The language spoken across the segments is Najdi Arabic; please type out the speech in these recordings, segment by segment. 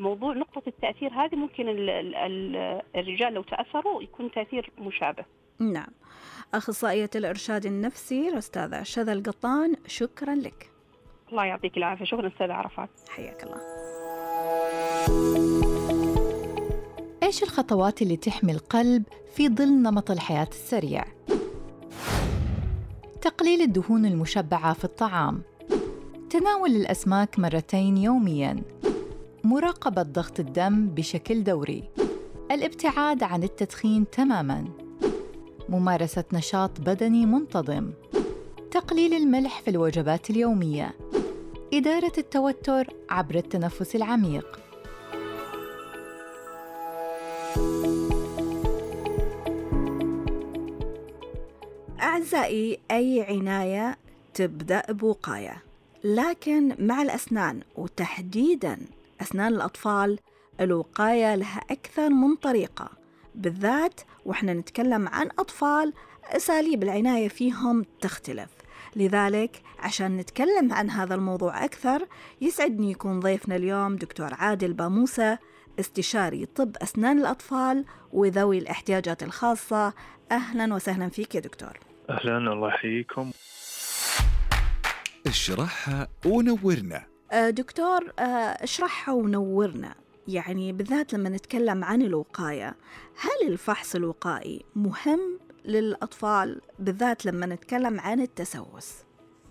موضوع نقطة التأثير هذه ممكن الرجال لو تأثروا يكون تأثير مشابه. نعم. أخصائية الإرشاد النفسي الأستاذة شذى القطان، شكرا لك. الله يعطيك العافية. شكرا أستاذة عرفات. حياك الله. إيش الخطوات اللي تحمي القلب في ظل نمط الحياة السريع؟ تقليل الدهون المشبعة في الطعام، تناول الأسماك 2 يومياً، مراقبة ضغط الدم بشكل دوري، الابتعاد عن التدخين تماماً، ممارسة نشاط بدني منتظم، تقليل الملح في الوجبات اليومية، إدارة التوتر عبر التنفس العميق. أعزائي، أي عناية تبدأ بوقاية، لكن مع الأسنان وتحديداً أسنان الأطفال الوقاية لها أكثر من طريقة، بالذات وإحنا نتكلم عن أطفال أساليب العناية فيهم تختلف. لذلك عشان نتكلم عن هذا الموضوع أكثر يسعدني يكون ضيفنا اليوم دكتور عادل باموسة، استشاري طب أسنان الأطفال وذوي الاحتياجات الخاصة. أهلا وسهلا فيك يا دكتور. أهلا، الله يحييكم. اشرحها ونورنا. دكتور، اشرحها ونورنا، يعني بالذات لما نتكلم عن الوقاية، هل الفحص الوقائي مهم للأطفال بالذات لما نتكلم عن التسوس؟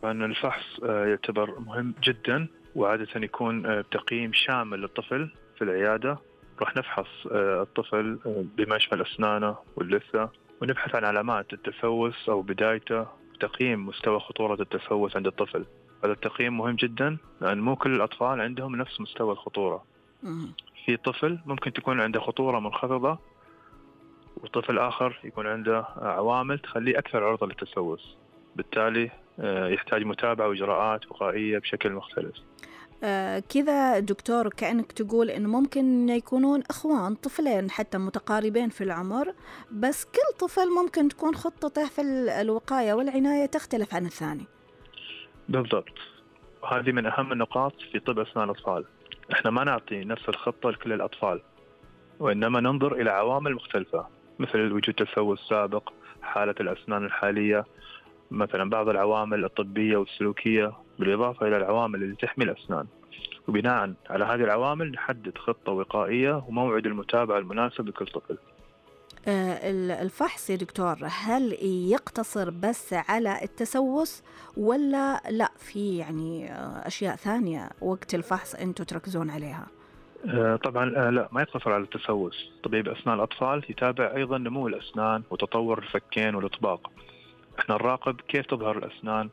أن الفحص يعتبر مهم جدا، وعادة يكون بتقييم شامل للطفل في العيادة. راح نفحص الطفل بما يشمل أسنانه واللثة، ونبحث عن علامات التسوس أو بدايته، تقييم مستوى خطورة التسوس عند الطفل. هذا التقييم مهم جدا لأن مو كل الأطفال عندهم نفس مستوى الخطورة. في طفل ممكن تكون عنده خطورة منخفضة، وطفل آخر يكون عنده عوامل تخليه أكثر عرضة للتسوس، بالتالي يحتاج متابعة وإجراءات وقائية بشكل مختلف. كذا دكتور كأنك تقول إنه ممكن يكونون إخوان، طفلين حتى متقاربين في العمر، بس كل طفل ممكن تكون خطته في الوقاية والعناية تختلف عن الثاني. بالضبط، هذه من أهم النقاط في طب أسنان الأطفال. إحنا ما نعطي نفس الخطة لكل الأطفال، وإنما ننظر إلى عوامل مختلفة مثل وجود تسوس سابق، حالة الأسنان الحالية، مثلا بعض العوامل الطبية والسلوكية، بالإضافة إلى العوامل اللي تحمي الأسنان. وبناء على هذه العوامل نحدد خطة وقائية وموعد المتابعة المناسب لكل طفل. الفحص يا دكتور هل يقتصر بس على التسوس ولا لا في يعني أشياء ثانية وقت الفحص أنتوا تركزون عليها؟ طبعا لا، ما يقتصر على التسوس. طبيب أسنان الأطفال يتابع أيضا نمو الأسنان وتطور الفكين والإطباق. احنا نراقب كيف تظهر الأسنان،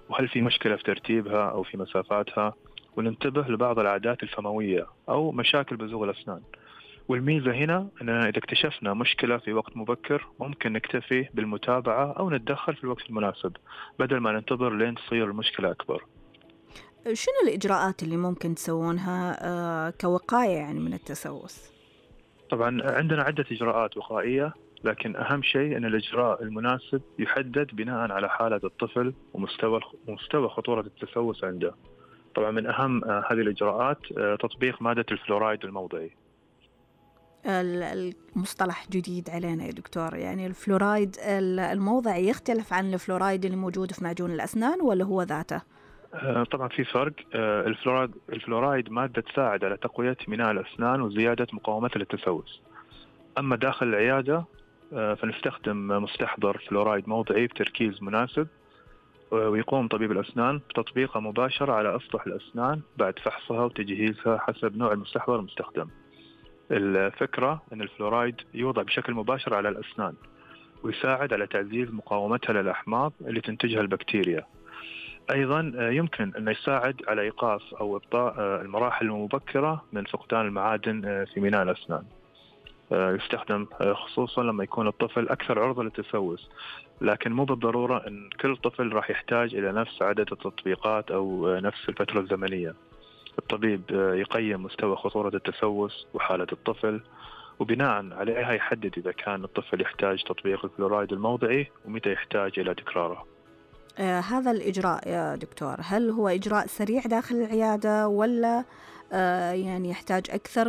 وهل في مشكلة في ترتيبها أو في مسافاتها، وننتبه لبعض العادات الفموية أو مشاكل بزوغ الأسنان. والميزة هنا أننا إذا اكتشفنا مشكلة في وقت مبكر ممكن نكتفي بالمتابعة أو نتدخل في الوقت المناسب بدل ما ننتظر لين تصير المشكلة أكبر. شنو الإجراءات اللي ممكن تسوونها كوقاية يعني من التسوس؟ طبعا عندنا عدة إجراءات وقائية، لكن أهم شيء أن الإجراء المناسب يحدد بناء على حالة الطفل ومستوى خطورة التسوس عنده. طبعا من أهم هذه الإجراءات تطبيق مادة الفلورايد الموضعي. المصطلح جديد علينا يا دكتور، يعني الفلورايد الموضعي يختلف عن الفلورايد اللي موجود في معجون الأسنان ولا هو ذاته؟ طبعا في فرق. الفلورايد مادة تساعد على تقوية ميناء الأسنان وزيادة مقاومتها للتسوس. أما داخل العيادة فنستخدم مستحضر فلورايد موضعي بتركيز مناسب، ويقوم طبيب الأسنان بتطبيقه مباشرة على أسطح الأسنان بعد فحصها وتجهيزها حسب نوع المستحضر المستخدم. الفكرة أن الفلورايد يوضع بشكل مباشر على الأسنان ويساعد على تعزيز مقاومتها للأحماض اللي تنتجها البكتيريا. أيضا يمكن أن يساعد على إيقاف أو إبطاء المراحل المبكرة من فقدان المعادن في ميناء الأسنان. يستخدم خصوصا لما يكون الطفل أكثر عرضة للتسوس، لكن مو بالضرورة أن كل طفل راح يحتاج إلى نفس عدد التطبيقات أو نفس الفترة الزمنية. الطبيب يقيم مستوى خطورة التسوس وحالة الطفل، وبناء عليها يحدد إذا كان الطفل يحتاج تطبيق الفلورايد الموضعي ومتى يحتاج إلى تكراره. هذا الإجراء يا دكتور هل هو إجراء سريع داخل العيادة ولا يعني يحتاج أكثر